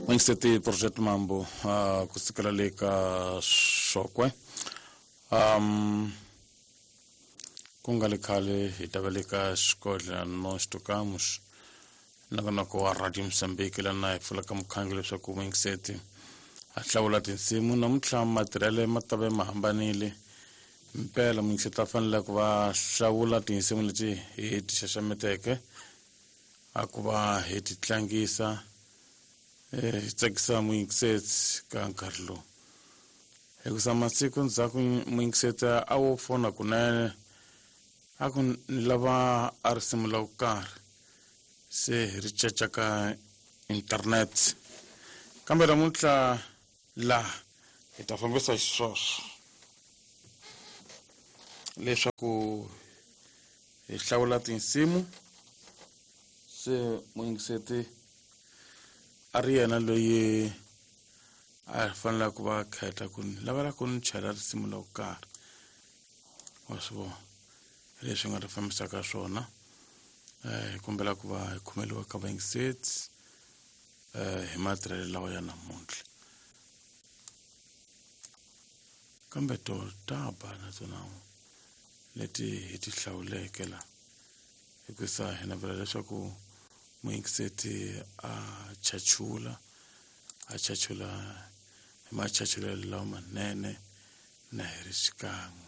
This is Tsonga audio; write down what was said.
N'wingiseti Project Mambo kusukela le ka Xokwe. Ku nga le khale hi ta va le ka xikodla Nós Tocamos nongonoko wa Radio Mozambique lana hi pfulaka mukhangi leswaku n'wingiseti a hlawula tinsimu. Namuntlha matirhele ma ta ve ma hambanile mpela, muyingiseti a fanele ku va hlawula tinsimu leti hi ti xaxameteke a ku va hi ti tlangisa hi tsakisa muyingiseti ka nkarhi lowu, hikusa masiku ndzhaku muyingiseti a wo fona kunene a ku ni lava a risimu la ku karhi, se hi ri caca ka internet. Kambe namuntlha laha hi ta fambisa xisweswo leswaku hi hlawula tinsimu, se muyingiseti a ri yena loyi a fanele ku va khetha ku ni lavela ku ni chela risimu lo karhi. Wa swi vona leswi nga ta fambisaka swona. Hi kombela ku va hi khomeliwa ka vayingiseti hi matirhelo lawa ya namuntlha, kambe to ta ba na tona leti hi ti hlawuleke la, hikusa hi navela leswaku muyingiseti a chachula, a chachula hi machachulelo lawa manene na hi ri xikan'we.